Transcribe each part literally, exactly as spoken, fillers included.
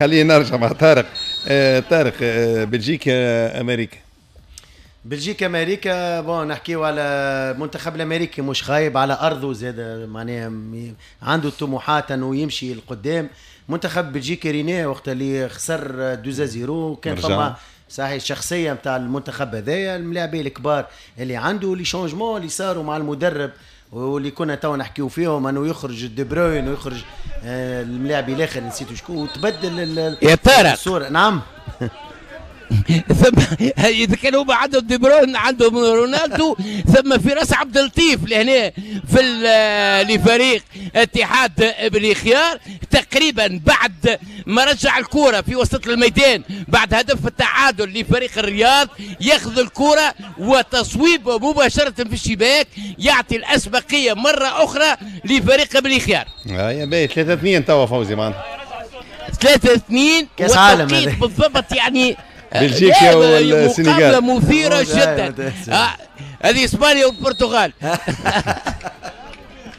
خلينا نرجع مع طارق. آه طارق، آه بلجيكا امريكا. بلجيكا امريكا، bon نحكيو على المنتخب الامريكي مش خايب على ارضه زاد، معناها عنده طموحات انه يمشي لقدام. منتخب بلجيكا رينيه وقت اللي خسر deux zéro كان فما صحيح الشخصية نتاع المنتخب هذايا، الملاعبين الكبار اللي عنده، les changements اللي صاروا مع المدرب واللي كنا تو نحكيو فيهم، انه يخرج دي بروين ويخرج آه، الملاعب الاخر نسيت شكون، وتبدل يا طارق الصوره. نعم. ثم اذا كان هو عندهم دي بروين، عندهم رونالدو، ثم فراس عبد اللطيف لهنا في لفريق اتحاد بني خيار. تقريبا بعد ما رجع الكرة في وسط الميدان بعد هدف التعادل لفريق الرياض، ياخذ الكرة وتصويب مباشرة في الشباك يعطي الأسبقية مرة أخرى لفريق بني خيار. آه يا باهي، ثلاثة اثنين توا فوزي معنا. ثلاثة اثنين. كاس عالم بالضبط يعني. بلجيكا والسنغال. مقابلة مثيرة جدا. آه، هذه اسبانيا والبرتغال.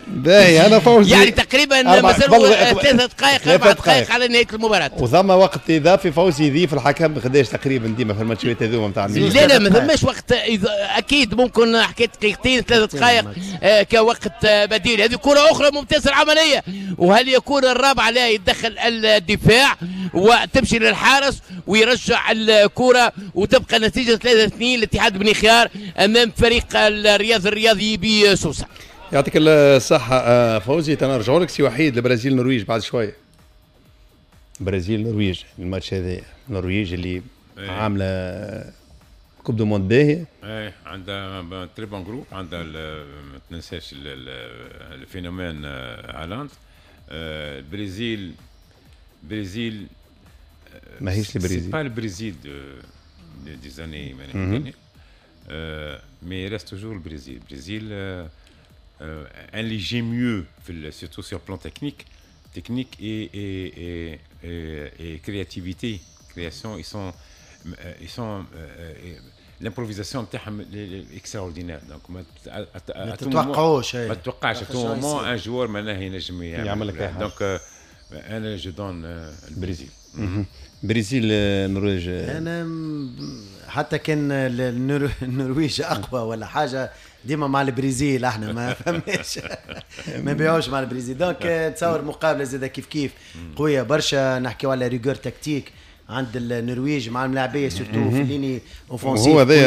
باهي، انا فوزي. يعني تقريبا مازالوا ثلاث دقائق، اربع دقائق على نهاية المباراه. وثم وقت اضافي فوزي يضيف الحكم قداش تقريبا ديما في الماتشات هذوما نتاع؟ لا لا، ما ثماش وقت اكيد، ممكن حكيت دقيقتين، ثلاث دقائق آه كوقت بديل. هذه كره اخرى ممتازه، العمليه، وهل يكون الرابعه؟ لا، يتدخل الدفاع وتمشي للحارس ويرجع الكره، وتبقى النتيجة ثلاثة اثنين لاتحاد بني خيار امام فريق الرياض الرياضي بسوسه. يعطيك الصحة آه، فوزي، تنرجعوا لك سي وحيد. البرازيل النرويج بعد شوية. برازيل النرويج، الماتش هذا، النرويج اللي إيه. عاملة coupe du monde باهية. ايه، عندها très bon groupe، عندها ما تنساش ال phénomène هالاند. البرازيل برازيل ماهيش البرازيل. pas البرازيل des années mais reste toujours البرازيل. البرازيل un léger mieux surtout sur le plan technique technique et, et, et, et, et créativité, création. Ils sont ils sont l'improvisation نتاعهم extraordinaire، donc ما تتوقعوش. ما تتوقعش à tout moment un joueur معناها ينجم يعمل لك. donc انا je donne البرازيل. برازيل النرويج. انا حتى كان النرويج اقوى ولا حاجه، ديما مع البرازيل، احنا ما فماش، ما نبيعوش مع البرازيل. donc تصور مقابله زاده كيف كيف قوية برشا. نحكيو على rigueur tactique عند النرويج مع الملاعبيه، surtout في ligne offensive. هو هذا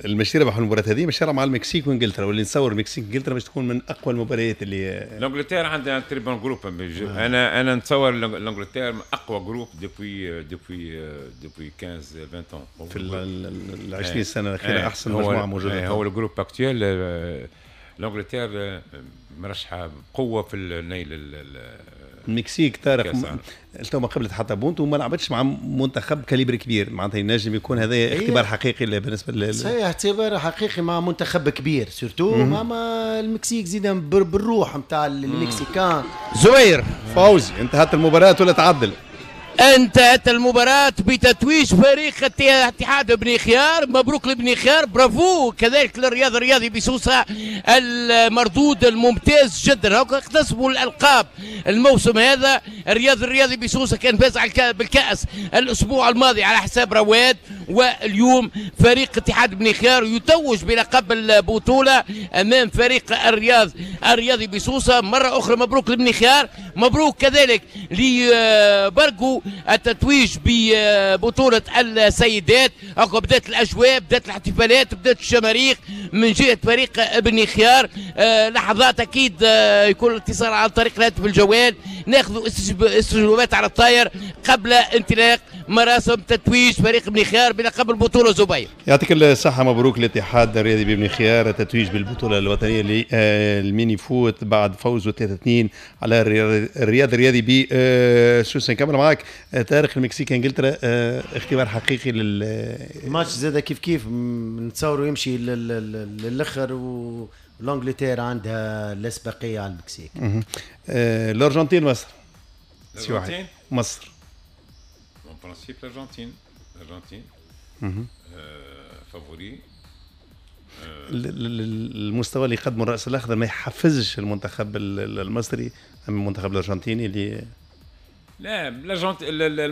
المشي ربح المباراة هذه، مش مع المكسيك وانجلترا، واللي نتصور المكسيك وانجلترا باش تكون من اقوى المباريات اللي l'Angleterre عندها très bon groupe. انا انا نتصور l'Angleterre اقوى groupe depuis depuis depuis خمستاش عشرين ans. في ال عشرين سنة الاخيرة احسن مجموعة موجوده. هو ال groupe actuel، l'Angleterre مرشحة بقوة في النيل. المكسيك طارق تو ما قبلت حتى بونت وما لعبتش مع منتخب calibre كبير، معناتها ينجم يكون هذا اختبار حقيقي بالنسبة لل صحيح، اختبار حقيقي مع منتخب كبير، surtout مع المكسيك زيد بالروح نتاع المكسيكان. زهير. فوزي، انتهت المباراة ولا تعدل؟ انتهت المباراة بتتويج فريق اتحاد بني خيار. مبروك لبني خيار، برافو كذلك للرياض الرياضي بسوسة، المردود الممتاز جدا. اكتسبوا الألقاب الموسم هذا. الرياض الرياضي بسوسة كان فاز بالكأس الأسبوع الماضي على حساب رواد، واليوم فريق اتحاد بني خيار يتوج بلقب البطولة أمام فريق الرياض الرياضي بسوسة. مرة أخرى مبروك لبني خيار، مبروك كذلك لبرقو التتويج ببطولة السيدات. بدأت الأجواء، بدأت الاحتفالات، بدأت الشماريخ من جهة فريق ابن خيار. آه، لحظات أكيد آه، يكون الاتصال عن طريق الهاتف الجوال، ناخذ استجوابات على الطاير قبل انطلاق مراسم تتويج فريق ابن خيار بلقب البطولة زبير. يعطيك الصحة، مبروك الاتحاد الرياضي بابن خيار التتويج بالبطولة الوطنية لل mini-foot بعد فوزه ثلاثة اثنين على الرياض الرياضي بسوسة. نكمل معاك طارق، المكسيك انجلترا، آه، اختبار حقيقي لل الماتش زاد كيف كيف نتصوروا يمشي للاخر، و l'Angleterre عندها الاسبقيه على المكسيك. آه، الارجنتين مصر. الارجنتين مصر. en principe الارجنتين الارجنتين favori. المستوى اللي قدمه الراس الاخضر ما يحفزش المنتخب المصري ام المنتخب الارجنتيني اللي لا، l'Argentine.